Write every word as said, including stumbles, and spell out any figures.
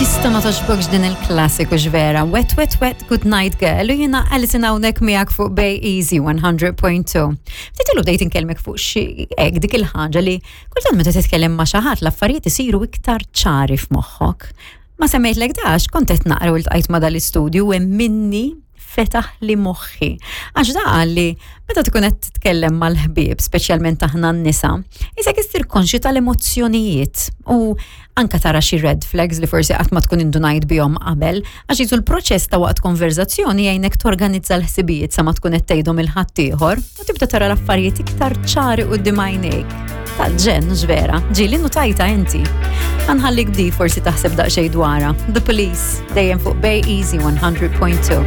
Tista' ma togħġbokx din il-klassiku vera? Wet, Wet, Wet, Good Night Girl, u jiena Alison hawnhekk miegħek fuq Bay Easy one hundred point two. Ftit ilu bdejt inkellmek fuq xi hekk dik il-ħaġa li kultant meta titkellem ma' xi ħadd l-affarijiet isiru iktar ċari f'moħħok. Ma semmejtlek dax, kont qed naqra u ltqajt ma' dal-istudju u hemm minni fetaħ li moħħi. Għax da li meta tkun qed titkellem mal-ħbieb, speċjalment aħna n-nisa, isek issir konxju tal-emozzjonijiet u anka tara xi red flags li forsi qatt ma tkun indunajt bihom qabel, għax jisu l-proċess ta' waqt konverzazzjoni jgħinek torganizza l-ħsibijiet sa ma tkun qed tgħidhom lil ħaddieħor u tibda tara l-affarijiet iktar ċari quddiem għajnejk. Tal-ġenn, vera, ġieli notajtha inti. Ħa nħallik b'di forsi taħseb daqsxejn dwarha. The Police, dejjem fuq Bay Easy one hundred point two.